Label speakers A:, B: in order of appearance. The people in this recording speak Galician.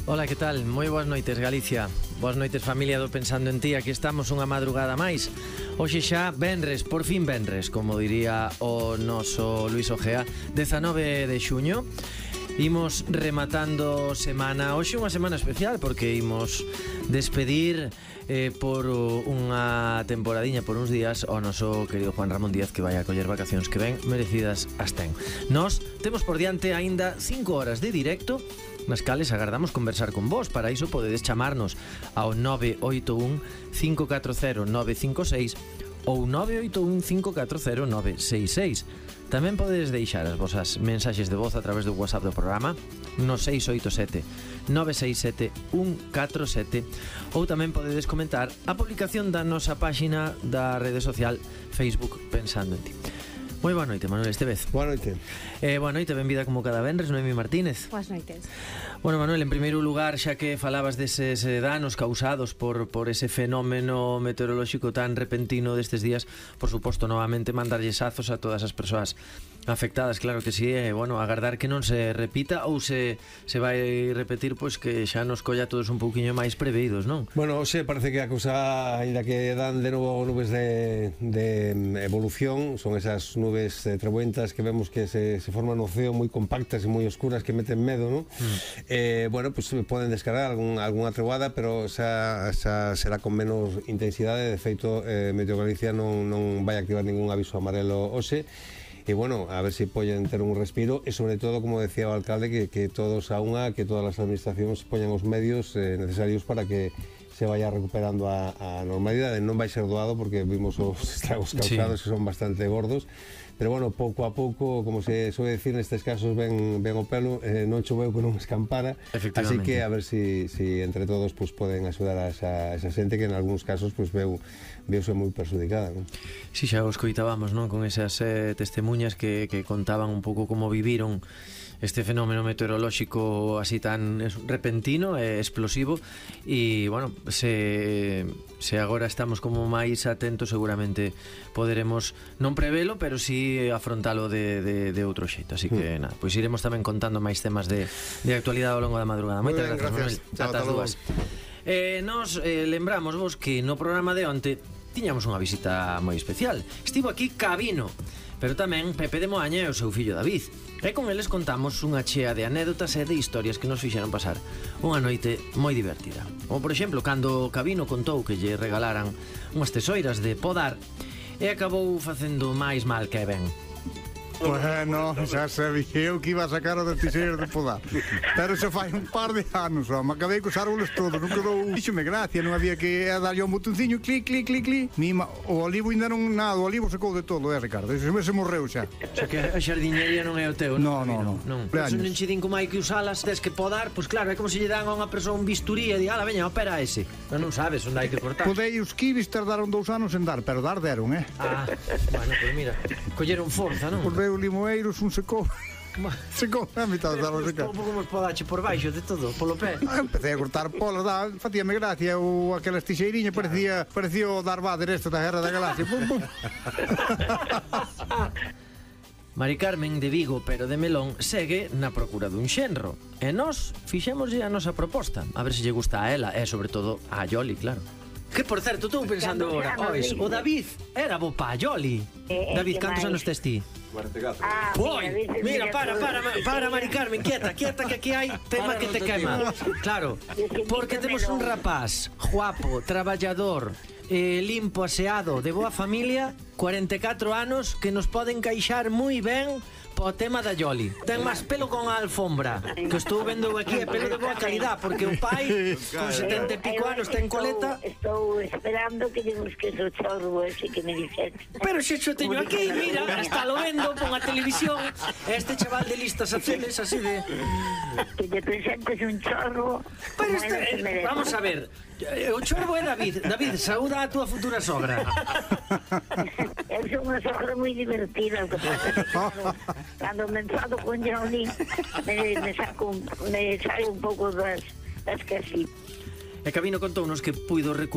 A: Ola, que tal? Moi boas noites, Galicia. Boas noites, familia do Pensando en Ti. Aquí estamos unha madrugada máis. Hoxe xa venres, por fin venres, como diría o noso Luis Ojea, 19 de xuño. Imos rematando semana. Hoxe unha semana especial porque imos despedir por unha temporadiña, por uns días, ao noso querido Juan Ramón Díaz, que vai a coller vacacións que ben merecidas as ten. Nos temos por diante aínda 5 horas de directo nas cales agardamos conversar con vos. Para iso podedes chamarnos ao 981 540 956 ou 981 540 966. Tamén podedes deixar as vosas mensaxes de voz a través do WhatsApp do programa no 687 967 147, ou tamén podedes comentar a publicación da nosa páxina da rede social Facebook Pensando en Ti. Moi boa noite, Manuel Estevez.
B: Boa noite.
A: Boa noite, benvida como cada venres, Noemi Martínez.
C: Boas noites.
A: Bueno, Manuel, en primeiro lugar, xa que falabas deses danos causados por ese fenómeno meteorolóxico tan repentino destes días, por suposto, novamente mandarlles azos a todas as persoas afectadas, claro que sí, bueno, agardar que non se repita ou se vai repetir, pois que xa nos colla todos un pouquiño máis preveídos, non?
B: Bueno, hoxe parece que a cousa, ainda que dan de novo nubes de evolución, son esas nubes trebuentas que vemos que se forman no ceo moi compactas e moi oscuras que meten medo, non? Bueno, pues poden descargar algunha treboada, pero esa será con menos intensidade. De feito, Meteo Galicia non vai activar ningún aviso amarelo hoxe. E bueno, a ver se poden ter un respiro e sobre todo, como decía o alcalde, que todos a unha, que todas as administracións poñan os medios necesarios para que se vaya recuperando a normalidade. Non vai ser doado porque vimos os estragos causados, sí, que son bastante gordos, pero bueno, pouco a pouco, como se soe decir nestes casos, ven o pelo, non choveu que non escampara, así que a ver si entre todos pues, poden axudar a esa xente que en algúns casos pues, veuse moi perjudicada, non?
A: Si, xa os coitábamos, non? Con esas testemunhas que contaban un pouco como viviron este fenómeno meteorolóxico así tan repentino e explosivo. E, bueno, se agora estamos como máis atentos, seguramente poderemos non prevelo, pero si afrontalo de outro xeito. Así que, nada, pois iremos tamén contando máis temas de actualidade ao longo da madrugada. Moitas gracias, Manuel. Ata as dúas. Nos lembramos vos que no programa de onte tiñamos unha visita moi especial. Estivo aquí Cabino, pero tamén Pepe de Moaña e o seu fillo David. E con eles contamos unha chea de anécdotas e de historias que nos fixeron pasar unha noite moi divertida. Como por exemplo, cando Cabino contou que lle regalaran unhas tesoiras de podar e acabou facendo máis mal que ben.
D: Bueno, xa sabía eu que iba a sacar o de tiseiras de podar, pero xa fai un par de anos, home, acabei cos árboles todos, non quedou. Díxome gracia, non había que darlle un botonciño, clic, clic, clic, clic. O olivo ainda non nada, o olivo secou de todo, Ricardo, se morreu xa.
A: Xa que a xardiñería non é o teu, non?
D: Non.
A: Se non che din como hai que usalas, tes que podar, pois claro, é como se lle dan a unha persoa un bisturí e di, ala, veña, opera ese. Pero non sabes onde hai que cortar.
D: Podei os kibis tardaron 2 anos en dar, pero dar deron,
A: Bueno, pois mira, colleron forza, non?
D: O limoeiros un secou a mitad das árboles.
A: Como os podache por baixo de todo, polo pé.
D: Empecé a cortar polas, facíame gracia aquelas tixeiriñas, parecía o Darth Vader da Guerra da Galaxia. Pum, pum.
A: Mari Carmen de Vigo, pero de Melón, segue na procura dun xenro. E nós fixémoslle a nosa proposta, a ver se lle gusta a ela, e sobre todo a Yoli, claro. Que, por certo, estou pensando agora, o David era bo pa Yoli. David, cantos anos tes ti?
E: 44.
A: Mira, para, Mari Carmen, quieta, que aquí hai tema que te quema. Claro, porque temos un rapaz guapo, traballador, limpo, aseado, de boa familia, 44 anos, que nos pode encaixar moi ben po tema da Yoli. Ten máis pelo con a alfombra, que estou vendo aquí, é pelo de boa calidad, porque o pai con 70 e pico anos ten coleta.
F: Estou esperando que lle busques o chorro ese que me dixete.
A: Pero xe xo teño aquí, mira, está lo vendo con a televisión. Este chaval de listas azules, así de...
F: Que lle presentes un chorro.
A: Pero vamos a ver, o chorbo é David. David, saúda a tua futura sogra.
F: Eu sou unha sogra moi divertida, o que pasa que cando me enfado con Johnny me saio un pouco das casitas.
A: E Cabino contounos que puido recuperar